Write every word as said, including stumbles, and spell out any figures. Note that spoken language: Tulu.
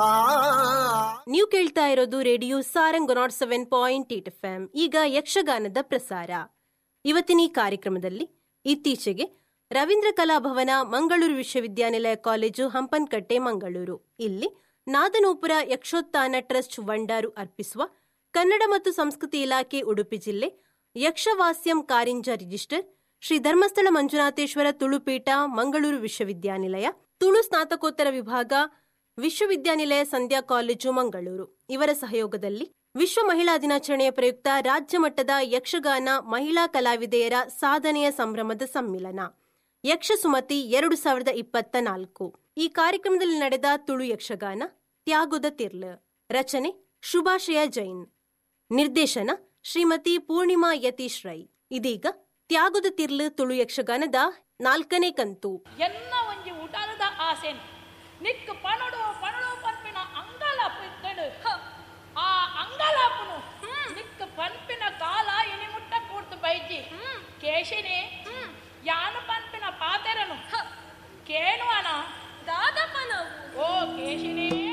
ಆ ನೀವು ಕೇಳ್ತಾ ಇರೋದು radio Sarang nought seven point eight F M. ಈಗ ಯಕ್ಷಗಾನದ ಪ್ರಸಾರ. ಇವತ್ತಿನ ಈ ಕಾರ್ಯಕ್ರಮದಲ್ಲಿ ಇತ್ತೀಚೆಗೆ ರವೀಂದ್ರ ಕಲಾಭವನ, ಮಂಗಳೂರು ವಿಶ್ವವಿದ್ಯಾನಿಲಯ ಕಾಲೇಜು, ಹಂಪನಕಟ್ಟೆ, ಮಂಗಳೂರು ಇಲ್ಲಿ ನಾದನೂಪುರ ಯಕ್ಷೋತ್ಥಾನ ಟ್ರಸ್ಟ್ ವಂಡಾರು ಅರ್ಪಿಸುವ ಕನ್ನಡ ಮತ್ತು ಸಂಸ್ಕೃತಿ ಇಲಾಖೆ ಉಡುಪಿ ಜಿಲ್ಲೆ ಯಕ್ಷವಾಸ್ಯಂ ಕಾರಿಂಜ ರಿಜಿಸ್ಟರ್ ಶ್ರೀ ಧರ್ಮಸ್ಥಳ ಮಂಜುನಾಥೇಶ್ವರ ತುಳುಪೀಠ ಮಂಗಳೂರು ವಿಶ್ವವಿದ್ಯಾನಿಲಯ ತುಳು ಸ್ನಾತಕೋತ್ತರ ವಿಭಾಗ ವಿಶ್ವವಿದ್ಯಾನಿಲಯ ಸಂಧ್ಯಾ ಕಾಲೇಜು ಮಂಗಳೂರು ಇವರ ಸಹಯೋಗದಲ್ಲಿ ವಿಶ್ವ ಮಹಿಳಾ ದಿನಾಚರಣೆಯ ಪ್ರಯುಕ್ತ ರಾಜ್ಯ ಮಟ್ಟದ ಯಕ್ಷಗಾನ ಮಹಿಳಾ ಕಲಾವಿದೆಯರ ಸಾಧನೆಯ ಸಂಭ್ರಮದ ಸಮ್ಮಿಲನ ಯಕ್ಷಸುಮತಿ ಎರಡು ಸಾವಿರದ ಇಪ್ಪತ್ತ ನಾಲ್ಕು ಈ ಕಾರ್ಯಕ್ರಮದಲ್ಲಿ ನಡೆದ ತುಳು ಯಕ್ಷಗಾನ ತ್ಯಾಗೊದ ತಿರ್ಲ್, ರಚನೆ ಶುಭಾಶಯ ಜೈನ್, ನಿರ್ದೇಶನ ಶ್ರೀಮತಿ ಪೂರ್ಣಿಮಾ ಯತೀಶ್ ರೈ. ಇದೀಗ ತ್ಯಾಗೊದ ತಿರ್ಲ್ ತುಳು ಯಕ್ಷಗಾನದ ನಾಲ್ಕನೇ ಕಂತು. ಎನ್ನ ಒಂಜಿ ಉಡಲದ ಆಸೆನ್ ನಿಕ್ ಪಣಡು ಪಣಡು ಪನ್ಪಿನ ಅಂಗಲಾಪು ಇತ್ತಡು. ಆ ಅಂಗಲಾಪುನು ನಿಕ್ ಪನ್ಪಿನ ಕಾಲ ಇನಿ ಮುಟ್ಟ ಕೂಡ್ತು ಬೈಜಿ. ಕೇಶಿನಿ ಯಾನು ಪನ್ಪಿನ ಪಾತೆರನು